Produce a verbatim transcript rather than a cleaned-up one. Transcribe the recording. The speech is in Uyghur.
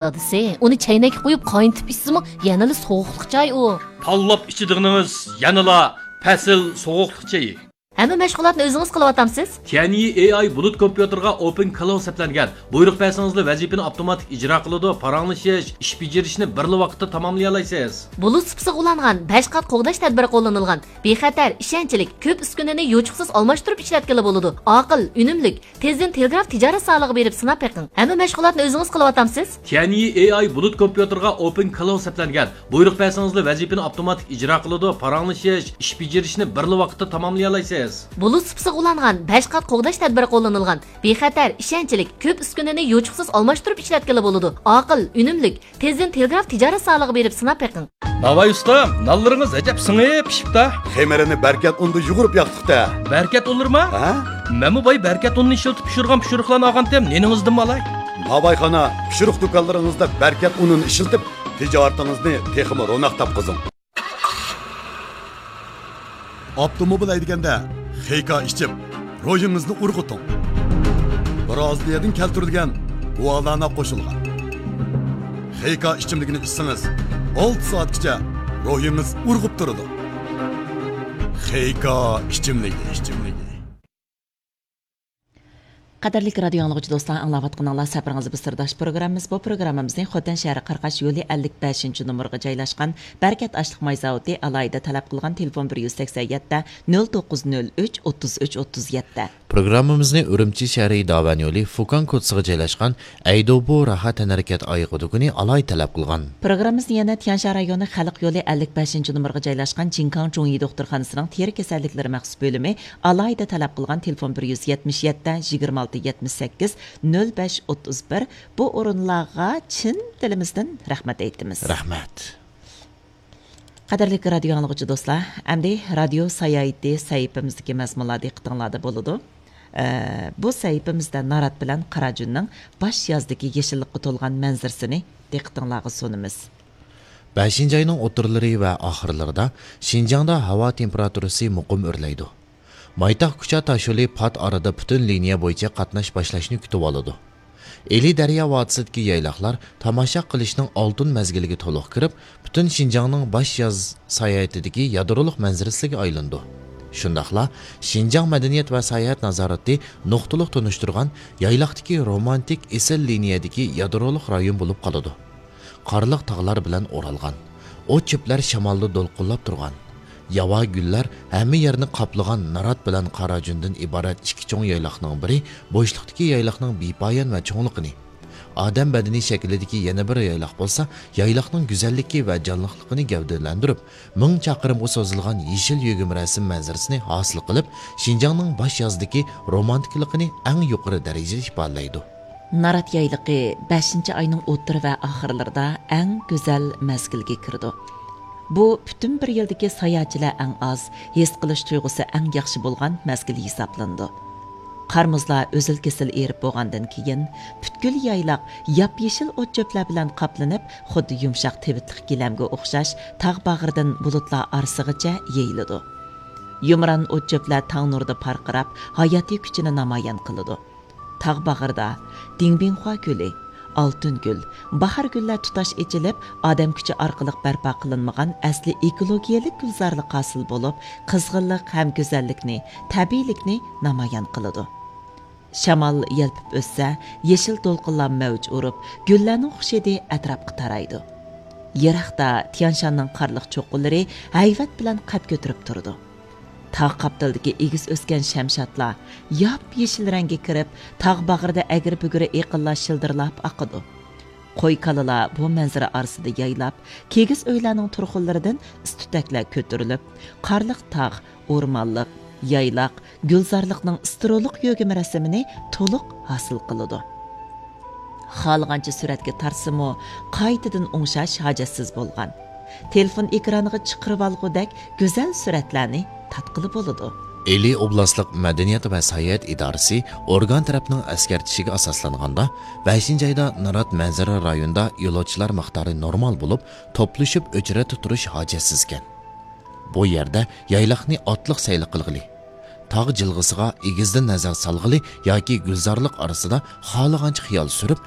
دادىسى، ئۇنى چەينەككە قويۇپ قاينىتىپ ئىچسىمۇ، يەنىلا سوغۇقلۇق چاي ئۇ. تاللاپ ئىچىدىغىنىڭىز يەنىلا پەسىل سوغۇقلۇق چېيى. ھەممە مەشغۇلاتنى ئۆزىڭىز قىلىۋاتامسىز؟ تيەنيى ئېي ئاي بۇلۇت كومپيۇتېرغا ئوپېن كلاود سەپلەنگەن. بۇيرۇق بەرسىڭىزلا ۋەزىپىنى ئاپتوماتىك ئىجرا قىلىدۇ، پاراڭلىشىش، ئىش بېجىرىشنى بىرلا ۋاقىتتا تاماملىيالايسىز. بۇلۇت سۇپىسىغا ئۇلانغان بەش قات قوغداش تەدبىرى قوللىنىلغان. بىخەتەر، ئىشەنچلىك، كۆپ ئۈسكۈنىنى يوچۇقسىز ئالماشتۇرۇپ ئىشلەتكىلى بولىدۇ. ئاقىل، ئۈنۈملۈك. تېزدىن تېلېگراف تىجارەت زالىغا بېرىپ سىناپ بېقىڭ. ھەممە مەشغۇلاتنى ئۆزىڭىز قىلىۋاتامسىز؟ تيەنيى ئېي ئاي بۇلۇت كومپيۇتېرغا ئوپېن كلاود سەپلەنگەن. بۇيرۇق بەرسىڭىزلا ۋەزىپىنى ئاپتوماتىك ئىجرا قىلىدۇ، پاراڭلىشىش، ئىش بېجىرىشنى بىرلا ۋاقىتتا تاماملىيالايسىز. بۇلۇت سۇپىسىغا ئۇلانغان بەش قات قوغداش تەدبىرى قوللىنىلغان. بىخەتەر، ئىشەنچلىك، كۆپ ئۈسكۈنىنى يوچۇقسىز ئالماشتۇرۇپ ئىشلەتكىلى بولىدۇ. ئاقىل، ئۈنۈملىك. تېزدىن تېلېگراف تىجارەت زالىغا بېرىپ سىناپ بېقىڭ. ناۋاي ئۇستام، نانلىرىڭىز ئەجەب سىڭىپ پىشىپتا. خېمىرىنى بەركەت ئۇندا يۇغۇرۇپ ياقتۇقتا. بەركەت ئۇنلىرىما؟ ھە؟ مەنمۇ باي بەركەت ئۇنىنى ئىشلىتىپ پىشۇرغان پىشۇرۇقلارنى ئالغانتىم، نېنىڭىزدىنمۇ ئالاي؟ ناۋايخانا پىشۇرۇق دۇكانلىرىڭىزدا بەركەت ئۇنىنى ئىشلىتىپ، تىجارىتىڭىزنى تېخىمۇ روناق تاپقۇزۇڭ. ئاپتوموبىل ھەيدىگەندە خېيكا ئىچىپ، روھىڭىزنى ئۇرغۇتۇڭ. برازىلىيەدىن كەلتۈرۈلگەن گۇالانا قوشۇلغان خېيكا ئىچىملىكىنى ئىچسىڭىز، ئالتە سائەتكىچە روھىڭىز ئۇرغۇپ تۇرىدۇ. خېيكا ئىچىملىكى، ئىچىملىكى. قەدىرلىك رادىيو ئاڭلىغۇچى دوستلار، ئاڭلاۋاتقىنىڭلار سەپىرىڭىز بىر سىرداش پروگراممىمىز. بۇ پروگراممىمىزنى خوتەن شەھىرى قاراقاش يولى ئەللىك بەشىنچى نومۇرغا جايلاشقان بەرىكەت ئاشلىق ماي زاۋۇتى ئالاھىدە تەلەپ قىلغان تېلېفون بىر يۈز سەكسەن يەتتە، نۆل توققۇز نۆل ئۈچ، ئوتتۇز ئۈچ، ئوتتۇز يەتتە. پروگراممىمىزنى ئۈرۈمچى شەھىرى داۋەن يولى فۇكاڭ كوچىسىغا جايلاشقان ئەيدوبۇ راھەت تەنھەرىكەت ئايىغى دۇكىنى ئالاھىدە تەلەپ قىلغان. پروگراممىمىزنى يەنە تيەنشان رايونى خەلق يولى ئەللىك بەشىنچى نومۇرغا جايلاشقان جىڭكاڭ چوڭ يى دوختۇرخانىسىنىڭ تېرە كېسەللىكلىرى مەخسۇس بۆلۈمى ئالاھىدە تەلەپ قىلغان تېلېفون بىر يۈز يەتمىش يەتتە، يىگىرمە ئالتە، يەتمىش سەككىز، نۆل بەش، ئوتتۇز بىر. بۇ ئورۇنلارغا چىن دىلىمىزدىن رەھمەت ئېيتىمىز. رەھمەت. قەدىرلىك رادىيو ئاڭلىغۇچى دوستلار، ئەمدى رادىيو ساياھىتى سەھىپىمىزدىكى مەزمۇنلار دىققىتىڭلاردا بولىدۇ. ئە، بۇ سەھىپىمىزدە نارات بىلەن قاراجۈننىڭ باش يازدىكى يېشىللىققا تولغان مەنزىرىسىنى دىققىتىڭلارغا سۇنىمىز. بەشىنچى ئاينىڭ ئوتتۇرىلىرى ۋە ئاخىرلىرىدا شىنجاڭدا ھاۋا تېمپېراتۇرىسى مۇقىم ئۆرلەيدۇ. مايتاغ كۇچا تاشيولى پات ئارىدا پۈتۈن لىنىيە بويىچە قاتناش باشلاشنى كۈتۈۋالىدۇ. ئىلى دەريا ۋادىسىدىكى يايلاقلار تاماشا قىلىشنىڭ ئالتۇن مەزگىلىگە تولۇق كىرىپ، پۈتۈن شىنجاڭنىڭ باش ياز ساياھىتىدىكى يادرولۇق مەنزىرىسىگە ئايلىنىدۇ. شۇنداقلا شىنجاڭ مەدەنىيەت ۋە ساياھەت نازارىتى نۇقتىلىق تونۇشتۇرغان يايلاقتىكى رومانتىك ئېسىل لىنىيەدىكى يادرولۇق رايون بولۇپ قالىدۇ. قارلىق تاغلار بىلەن ئورالغان، ئوت چۆپلەر شامالدا دولقۇنلاپ تۇرغان، ياۋا گۈللەر ھەممە يەرنى قاپلىغان نارات بىلەن قاراجۈندىن ئىبارەت ئىككى چوڭ يايلاقنىڭ بىرى بوشلۇقتىكى يايلاقنىڭ بىپايان ۋە چوڭلۇقىنى، ئادەم بەدىنى شەكلىدىكى يەنە بىر يايلاق بولسا، يايلاقنىڭ گۈزەللىكى ۋە جانلىقلىقىنى گەۋدىلەندۈرۈپ، مىڭ چاقىرىمغا سوزۇلغان يېشىل يۆگىمە رەسىم مەنزىرىسىنى ھاسىل قىلىپ، شىنجاڭنىڭ باش يازدىكى رومانتىكىلىقىنى ئەڭ يۇقىرى دەرىجىدە ئىپادىلەيدۇ. نارات يايلىقى بەشىنچى ئاينىڭ ئوتتۇرا ۋە ئاخىرلىرىدا ئەڭ گۈزەل مەزگىلگە كىرىدۇ. بۇ پۈتۈن بىر يىلدىكى ساياھەتچىلەر ئەڭ ئاز، ھېس قىلىش تۇيغۇسى ئەڭ ياخشى بولغان مەزگىل ھېسابلىنىدۇ. قار-مۇزلار ئۆزۈل-كېسىل ئېرىپ بولغاندىن كېيىن، پۈتكۈل يايلاق ياپيېشىل ئوت-چۆپلەر بىلەن قاپلىنىپ، خۇددى يۇمشاق تىۋىتلىق گىلەمگە ئوخشاش تاغ باغرىدىن بۇلۇتلار ئارىسىغىچە يېيىلىدۇ. يۇمران ئوت-چۆپلەر تاڭ نۇرىدا پارقىراپ، ھاياتىي كۈچىنى نامايان قىلىدۇ. تاغ باغرىدا دىڭبىڭخۇا گۈلى، ئالتۇن گۈل، باھار گۈللەر تۇتاش ئېچىلىپ، ئادەم كۈچى ئارقىلىق بەرپا قىلىنمىغان ئەسلى ئېكولوگىيەلىك گۈلزارلىق ھاسىل بولۇپ، قىزغىنلىق ھەم گۈزەللىكنى، تەبىئىيلىكنى نامايان قىلىدۇ. شامال يەلپۈپ ئۆتسە، يېشىل دولقۇنلار مەۋج ئۇرۇپ، گۈللەرنىڭ خۇش ھىدى ئەتراپقا تارايدۇ. يىراقتا تيانشاننىڭ قارلىق چوققىلىرى ھەيۋەت بىلەن قەد كۆتۈرۈپ تۇرىدۇ. تاغ قاپتىلىدىكى ئېگىز ئۆسكەن شەمشادلار ياپيېشىل رەڭگە كىرىپ، تاغ باغرىدا ئەگرى-بۈگرى ئېقىنلار شىلدىرلاپ ئاقىدۇ. قوي-كالىلار بۇ مەنزىرە ئارىسىدا يايلاپ، كىگىز ئۆيلەرنىڭ تۇرخۇنلىرىدىن ئىس تۈتەكلەر كۆتۈرۈلۈپ، قارلىق تاغ، ئورمانلىق، يايلاق، گۈلزارلىقنىڭ ئىستېرېئولۇق يۆگىمە رەسىمىنى تولۇق ھاسىل قىلىدۇ. خالىغانچە سۈرەتكە تارتسىمۇ، قايتىدىن ئوڭشاش ھاجەتسىز بولغان. تېلېفون ئېكرانىغا چىقىرىۋالغۇدەك گۈزەل سۈرەتلەرنى تارتقىلى بولىدۇ. ئىلى ئوبلاستلىق مەدەنىيەت ۋە ساياھەت ئىدارىسى ئورگان تەرەپنىڭ ئەسكەرتىشىگە ئاساسلانغاندا، بەشىنچى ئايدا نارات مەنزىرە رايونىدا يولۇچىلار مىقدارى نورمال بولۇپ، توپلىشىپ ئۆچرەتتە تۇرۇش ھاجەتسىزكەن. بۇ يەردە يايلاقنى ئاتلىق سەيلە قىلغىلى، تاغ جىلغىسىغا ئېگىزدىن نەزەر سالغىلى ياكى گۈلزارلىق ئارىسىدا خالىغانچە خىيال سۈرۈپ،